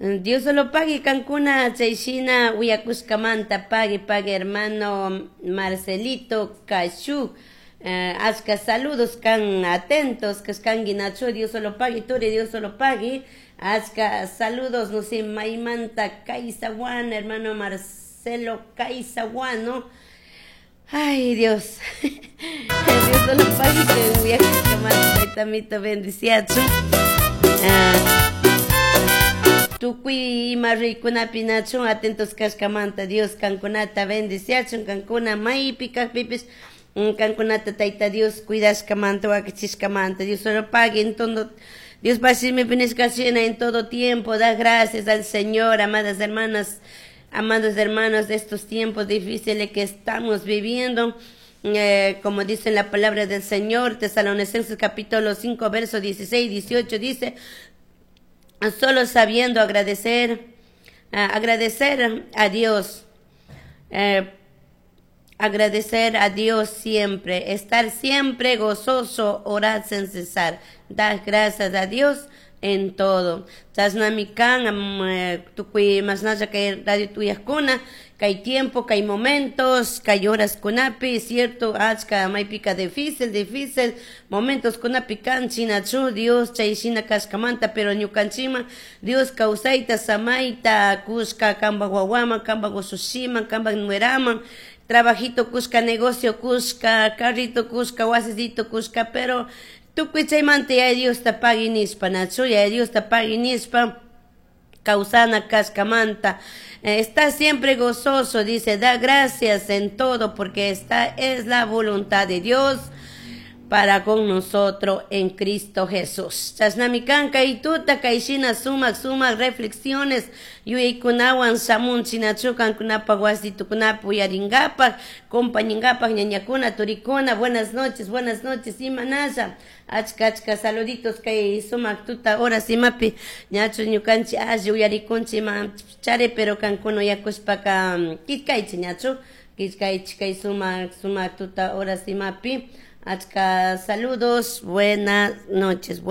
Dios solo pagui kankuna chayshina uyakushkamanta pagui pagui hermano Marcelito Kashu achka saludos kan atentos kashkanki nachu Dios solo pagui turi Dios solo pagui achka saludos no sé maymanta Kaisawan hermano Marcelo Kaisawan Ay, Dios. Dios solo pagui que uyakushkamanta taytamito bendiciachun. Tukuy ima ruykunapi nachun atentos kashkamanta Dios kankunata bendiciachun kankuna maypi kajpipis kankunata Tayta Dios cuidashkamanta wakichishkamanta Dios solo pagui en todo Dios shimipi nishka shina en todo tiempo da gracias al Señor, amadas hermanas, amados hermanos de estos tiempos difíciles que estamos viviendo. Como dice la palabra del Señor, Tesalonicenses capítulo 5, verso 16, 18, dice, solo sabiendo agradecer, agradecer a Dios, agradecer a Dios siempre, estar siempre gozoso, orar sin cesar, dar gracias a Dios en todo. Chashnami kan tukuy mashnalla kay radio tuyajkuna, kay tiempo, kay momentos, kay horas kunapi, cierto, achka maypika difícil, difícil, momentos kunapi kan chinachu Dios chay shina kashkamanta, pero ñukanchikman Dios kawsayta, samayta, kushka kanpak wawaman, kanpak ushushiman, kanpak nueraman, trabajito kushka, negocio kushka, carrito kushka, wasisito kushka, pero tukuy chaymanta Yaya Diosta pagui nishpa, nachu Yaya Diosta pagui nishpa, kawsana kashkamanta. Está siempre gozoso, dice, da gracias en todo, porque esta es la voluntad de Dios para con nosotros en Cristo Jesús. Chashnami kan kay tuta kayshina sumak sumak reflexiones yuyaykunawan shamun chinachu kankunapak wasitukunapi uyarinkapak, compañinkapak ñañakuna, turikuna, buenas noches, buenas noches, imanasha, achka achka saluditos kay sumak tuta horas imapi ñachu ñukanchik alli uyarikunchik ima chari, pero kankuna uyakushpaka killkaychik ñachu, killkaychik kay sumak sumak tuta horas imapi. Achka saludos, buenas noches.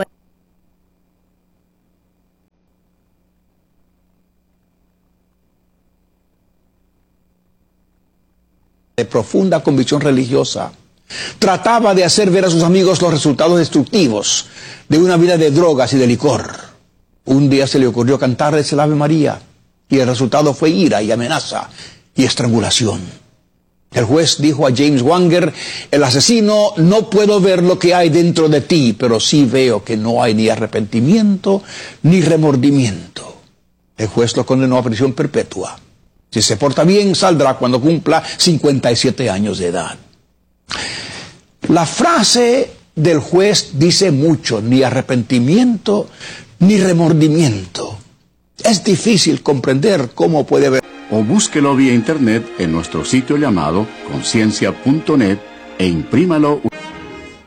De profunda convicción religiosa, trataba de hacer ver a sus amigos los resultados destructivos de una vida de drogas y de licor. Un día se le ocurrió cantarles el Ave María y el resultado fue ira y amenaza y estrangulación. El juez dijo a James Wanger, el asesino, no puedo ver lo que hay dentro de ti, pero sí veo que no hay ni arrepentimiento ni remordimiento. El juez lo condenó a prisión perpetua. Si se porta bien, saldrá cuando cumpla 57 años de edad. La frase del juez dice mucho, ni arrepentimiento ni remordimiento. Es difícil comprender cómo puede haber. O búsquelo vía internet en nuestro sitio llamado conciencia punto net e imprímalo.